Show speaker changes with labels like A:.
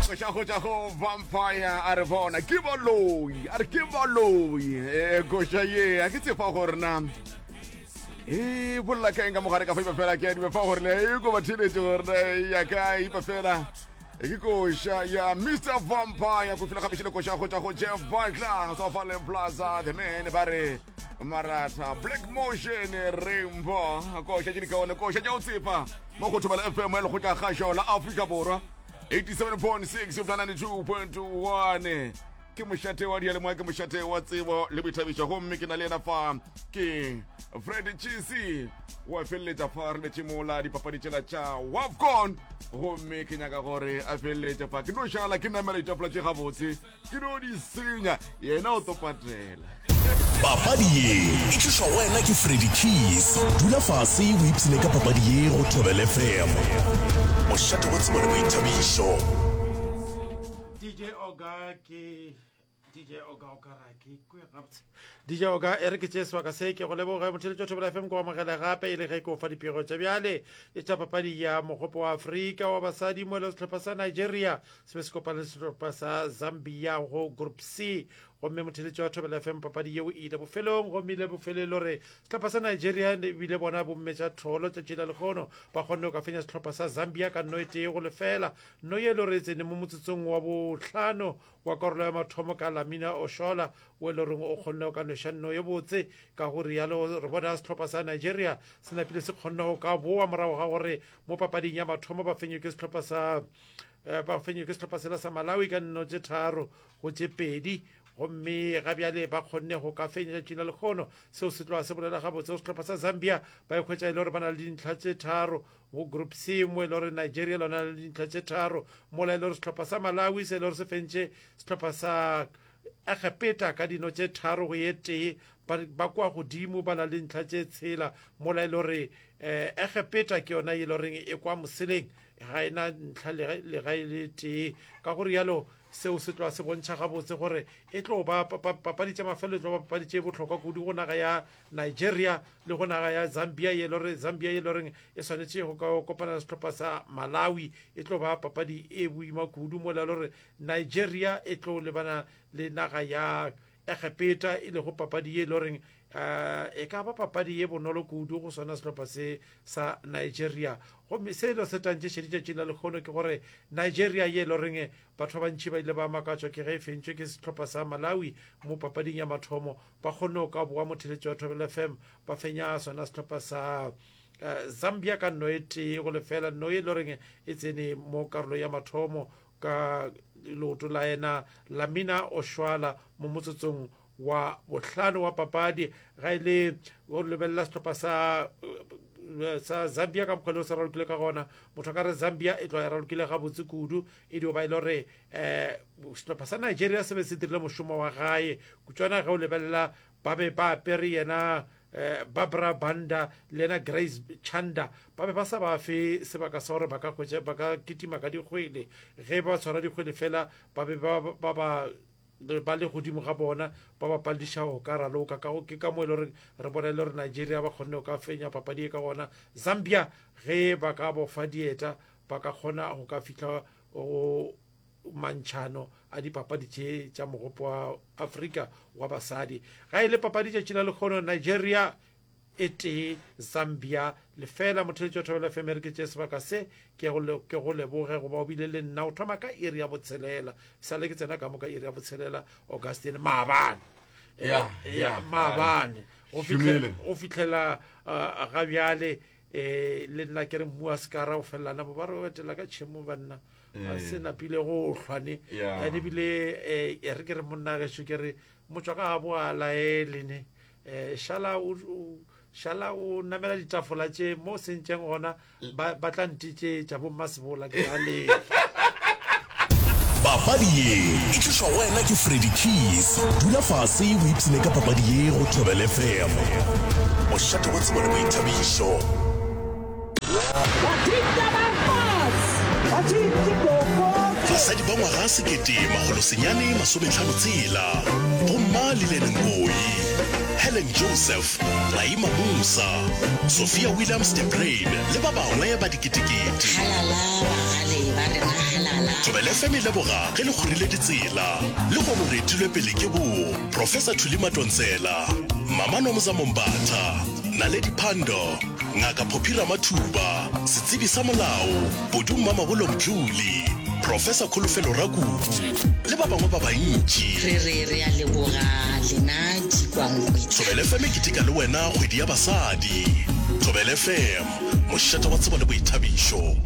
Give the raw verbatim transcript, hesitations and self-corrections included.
A: Koša go tša go Vampire a re bona ke baloi, a re ke baloi. E koša ye a ke tsefa gore na e bolela ka eng ka mogare ka fa ipa fela ke a dime fa gore le e ko ba theletše gore na ya ka ipa fela. E ke koša ya Mister Vampire go fihla gape šele koša go tša go Jeff Butler Sofale Plaza the man ba re Maratha Black Motion Rainbow koša tše di kaone koša tša go tsepa mo go Thobela F M ya lekgotla kgašo la Afrika Borwa eighty-seven point six go ninety-two point one. Ke mošate wa diyalemoya, ke mošate wa tsebo le boithabišo, gomme ke na le yena fa ke Fred Chisi wa feleletša fa re letše mola dipapadi tšela tša WAFCON, gomme ke nyaka gore a feleletše fa ke no šala ke namela ditafola tše gabotse ke no di senya yena o tlo patela.
B: Papadi ye e tlišwa go wena ke Freddy Keys. Dula fase o ipshine ka papadi ye go Thobela F M. Mošate wa tsebo le boithabišo.
C: D J Oga ke D J Oga o ka ra ke kwe gabotse. D J Oga e re ke tšee sebaka se ke go leboge motheletši wa Thobela F M ko amogele gape e le ge ke o fa dipego tša bjale e tša papadi ya mogopo wa Afrika wa basadi mo le sehlopha sa Nigeria se be se kopane le sehlopha sa Zambia go Group C. Gomme motheletši wa Thobela F M papadi yeo e ile bofelong, gomme ile bofelong gore sehlopha sa Nigeria ebile bona bomme tša tholo tšatši la lekgono ba kgonne go ka fenya sehlopha sa Zambia ka nno e tee go lefela. Nno ye e le gore e tsene mo motsotsong wa bohlano wa karolo ya mathomo ka Lamina Oshola o e le goreng o kgonne go ka nweša nno ye botse. Ka go rialo re bona sehlopha sa Nigeria se napile se kgonne go ka boa morago ga gore mo papading ya mathomo ba fenywe ke sehlopha sa, eh, ba fenywe ke sehlopha sela sa Malawi ka nno tše tharo go tše pedi. Gomme ga bjale ba kgonne go ka fenya tšatši la lekgono. Seo se tloga se bolela gabotse go sehlopha sa Zambia ba ikhwetša e le gore ba na le dintlha tše tharo go Group C, mo e le gore Nigeria lona le dintlha tše tharo, mola e le gore sehlopha sa Malawi se e le gore se fentše sehlopha sa Egepeta ka dino tše tharo go ye tee, ba, ba kwa godimo ba na le dintlha tše tshela, mola e le gore, eh, Egepeta ke yona e le goreng e kwa moseleng ga e na ntlha le ga e le tee. Ka go rialo seo se tloga se bontšha gabotse gore e tlo ba pa-, pa-, papadi tša mafelo e tlo ba papadi tše bohlokwa kudu go naga ya Nigeria le go naga ya Zambia ye le gore Zambia ye le goreng e swanetše go ka kopana le sehlopha sa Malawi. E tlo ba papadi e boima kudu mola e le gore Nigeria e tlo lebana le naga ya Egepeta e lego papadi ye e le goreng, eh, e ka ba papadi ye bonolo kudu go swana sehlopha se sa Nigeria. Gomme se lo se tantše šedi tšatši la lekgono ke gore Nigeria ye e le goreng batho ba bantši ba ile ba makatšwa ke ge e fentšwe ke sehlopha sa Malawi mo papading ya mathomo, ba kgonne go ka boa motheletši wa Thobela F M ba fenya sona sehlopha sa, eh, Zambia ka nno e tee go lefela, nno e le goreng e tsene mo karolo ya mathomo ka leoto la yena Lamina Oshoala mo motsotsong wa bohlano wa papadi. Ga e le go lebelela sehlopha sa, sa Zambia ka mokgwa le o se ralokile ka gona, motho a ka re Zambia e tloga e ralokile gabotse kudu, e dio ba e le gore, eh, sehlopha sa Nigeria se be se dirile mošomo wa gae kutswana. Ge o lebelela ba be ba apere yena, eh, Barbara Banda le yena Grace Chanda, ba be ba sa ba fe sebaka sa gore ba ka hwetša, ba ka kitima ka dikgwele. Ge ba tshwara dikgwele fela ba be ba, ba, ba, ba le godimo ga bona ba ba palediša go ka raloka. Ka go ke ka mo e le gore re bona e le gore Nigeria ba kgonne go ka fenya papadi e ka gona. Zambia ge ba ka bofa dieta ba ka kgona go ka fihla go mantšhano a dipapadi tše tša mogopo wa Afrika wa basadi. Ga e le papadi tšatši la lekgono Nigeria e tee Zambia lefela. Motheletši wa Thobela F M re ke tše sebaka se ke go le-, ke go leboge goba o bile le nna o thoma ka iri ya botshelela, sale ke tsena ka mo ka iri ya botshelela Augustine maabane.
A: Ya,
C: Eh,
A: ya,
C: maabane. Go
A: Šomile.
C: fihlela, go fihlela, eh, ga bjale, eh, le nna ke re mmu wa sekara o felelana bo ba re o etela ka tšhemo banna.
A: Eh.
C: Se napile go hlwane.
A: Ya.
C: Ene ebile, eh, e re ke re monna gešo ke re motswa ka gabo a laele ne. Eh, šala o, o, šala o namela ditafola tše mo sentšeng gona, ba, ba tla ntetšetša bo mmasebola ke a lefa.
B: Papadi ye e tlišwa go wena ke Freddy Keys. Dula fase o ipshine ka papadi ye go Thobela F M. Mošate wa tsebo le boithabišo. Basadi ba ngwaga sekete makgolo senyane masometlhano tshela, bomma Lillian Ngoyi, Helen Joseph, Raima Musa, Sophia Williams de Bruyn le ba bangwe ba diketekete.
D: Halala bagale ba rena, halala.
B: Thobela F M e leboga ge le kgorile ditsela. Le kgono re etilwe pele ke bo Professor Thuli Madonsela, Mama Nomza Mombatha, Naledi Pandor, Ngaka Phophi Ramathuba, setsebi sa molao Podu Mmamabolo Mdluli, Professor Kholofelo Rakubu le ba bangwe ba bantši.
D: Re re re a leboga lena dikwankwe.
B: Thobela F M e keteka le wena kgwedi ya basadi. Thobela F M, mošate wa tsebo le boithabišo.